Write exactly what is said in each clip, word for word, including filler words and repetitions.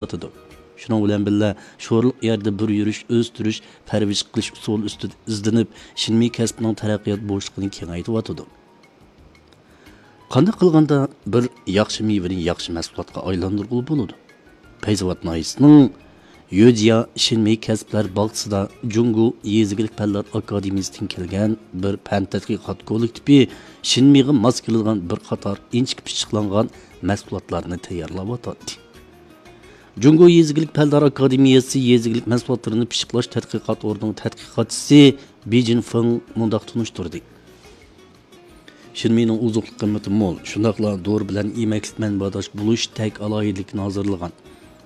قىلىۋاتىدۇ. شۇنىڭ بىلەن بىللە، شورلۇق يەردە بىر يۈرۈش، ئۆستۈرۈش، پەرۋىش قىلىش ئۇسۇلى ئۈستىدە ئىزدىنىپ، شىنمى كەسپىنىڭ تەرەققىيات بوشلۇقىنى كېڭەيتىۋاتىدۇ. قانداق قىلغاندا بىر ياخشى مېۋىنى ياخشى مەھسۇلاتقا ئايلاندۇرغىلى بولىدۇ؟ پەيزاۋات ناھىيەسىنىڭ يۆجيا شىنمېي كەسىپلەر باغچىسىدا جۇڭگو يېزا ئىگىلىك پەنلەر ئاكادېمىيەسىدىن كەلگەن بىر پەن تەتقىقات كوللېكتىپى شىنمېيغا ماس كېلىدىغان بىر قاتار ئىنچىكە پىششىقلانغان مەھسۇلاتلارنى تەييارلاۋاتاتتى. جۇڭگو يېزا ئىگىلىك پەنلەر ئاكادېمىيەسى يېزا ئىگىلىك مەھسۇلاتلىرىنى پىششىقلاش تەتقىقات ئورنىنىڭ تەتقىقاتچىسى بى جىنفېڭ مۇنداق تونۇشتۇردى. شىنمېينىڭ ئوزۇقلۇق قىممىتى مول، شۇنداقلا دورا بىلەن يېمەكلىك مەنبەداش بولۇش تەك ئالاھىدىلىكىنى ھازىرلىغان.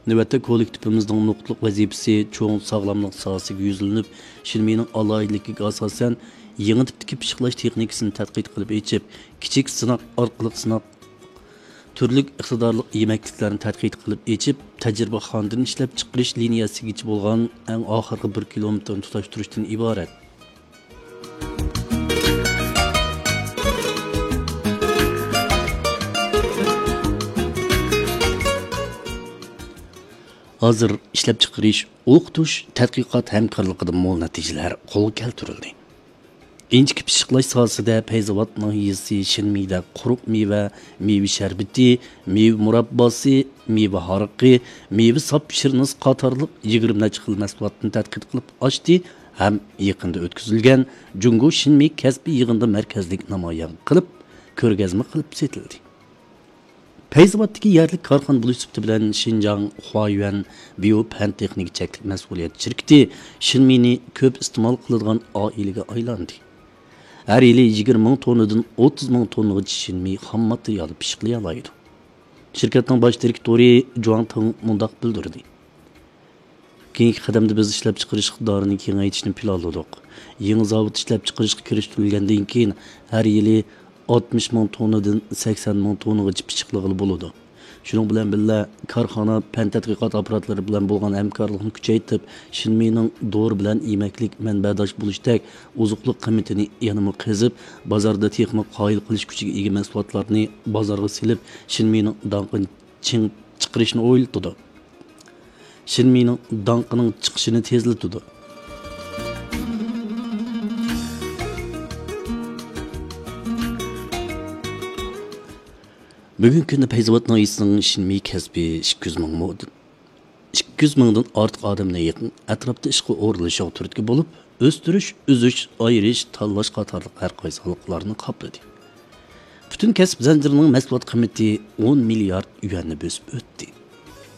نۆۋەتتە كوللېكتىپىمىزنىڭ نۇقتىلىق ۋەزىپىسى چوڭ ساغلاملىق ساھەسىگە يۈزلىنىپ، شىنمېينىڭ ئالاھىدىلىكىگە ئاساسەن، يېڭى تىپتىكى پىششىقلاش تېخنىكىسىنى تەتقىق قىلىپ ئېچىپ، كىچىك سىناق ئارقىلىق سىناق تۈرلۈك ئىقتىدارلىق يېمەكلىكلەرنى تەتقىق قىلىپ ئېچىپ، تەجرىبىخانىدىن ئىشلەپچىقىرىش لىنىيەسىگىچە بولغان ئەڭ ئاخىرقى بىر كىلومېتىرنى تۇتاشتۇرۇشتىن ئىبارەت. ھازىر ئىشلەپچىقىرىش، ئوقۇتۇش، تەتقىقات ھەمكارلىقىدا مول نەتىجىلەر قولغا كەلتۈرۈلدى. ئىنچىكە پىششىقلاش ساھەسىدە پەيزاۋات ناھىيەسى شىنمىدە قۇرۇق مېۋە، مېۋە شەربىتى، مېۋە مۇرابباسى، مېۋە ھارىقى، مېۋە ساپ شىرنىسى قاتارلىق يىگىرمە نەچچە خىل مەھسۇلاتنى تەتقىق قىلىپ ئاچتى ھەم يېقىندا ئۆتكۈزۈلگەن جۇڭگو شىنمى كەسپىي يىغىنىدا مەركەزلىك نامايان قىلىپ، كۆرگەزمە قىلىپ سېتىلدى. پەيزاۋاتتىكى يەرلىك كارخانا بولۇش سۈپىتى بىلەن شىنجاڭ خۇايۈەن بىيو پەن تېخنىكا چەكلىك مەسئۇلىيەت شىركىتى شىنمىنى كۆپ ئىستېمال قىلىدىغان ئائىلىگە ئايلاندى. ھەر يىلى يىگىرمە مىڭ توننىدىن ئوتتۇز مىڭ توننىغىچە شىنمى خام ماتېرىيالى پىششىقلىيالايدۇ. شىركەتنىڭ باش دىرېكتورى جۇاڭ تېڭ مۇنداق بىلدۈردى. كېيىنكى قەدەمدە بىز ئىشلەپچىقىرىش ئىقتىدارىنى كېڭەيتىشنى پىلانلىدۇق. يېڭى زاۋۇت ئىشلەپچىقىرىشقا كىرىشتۈرۈلگەندىن كېيىن، ھەر يىلى ئاتمىش مىڭ توننىدىن سەكسەن مىڭ توننىغىچە پىششىقلىغىلى بولىدۇ. شۇنىڭ بىلەن بىللە، كارخانا پەن تەتقىقات ئاپپاراتلىرى بىلەن بولغان ھەمكارلىقنى كۈچەيتىپ، شىنمىنىڭ دورا بىلەن يېمەكلىك مەنبەداش بولۇشتەك ئوزۇقلۇق قىممىتىنى يەنىمۇ قېزىپ، بازاردا تېخىمۇ قايىل قىلىش كۈچىگە ئىگە مەھسۇلاتلارنى بازارغا سېلىپ، شىنمىنىڭ داڭقىنى چىڭ چىقىرىشنى ئويلىتىدۇ. شىنمىنىڭ داڭقىنىڭ چىقىشىنى تېزلىتىدۇ. بۈگۈنكى كۈندە پەيزاۋات ناھىيەسىنىڭ شىنمى كەسپى ئىككى يۈز مىڭ مو-، ئىككى يۈز مىڭدىن ئارتۇق ئادەمنى يېقىن ئەتراپتا ئىشقا ئورۇنلىشىشىغا تۈرتكە بولۇپ، ئۆستۈرۈش، ئۈزۈش، ئايرىش، تاللاش قاتارلىق ھەر قايسى ھالقىلارنى قاپلىدى. پۈتۈن كەسىپ زەنجىرىنىڭ مەھسۇلات قىممىتى ئون مىليارد يۈەننى بۆسۈپ ئۆتتى.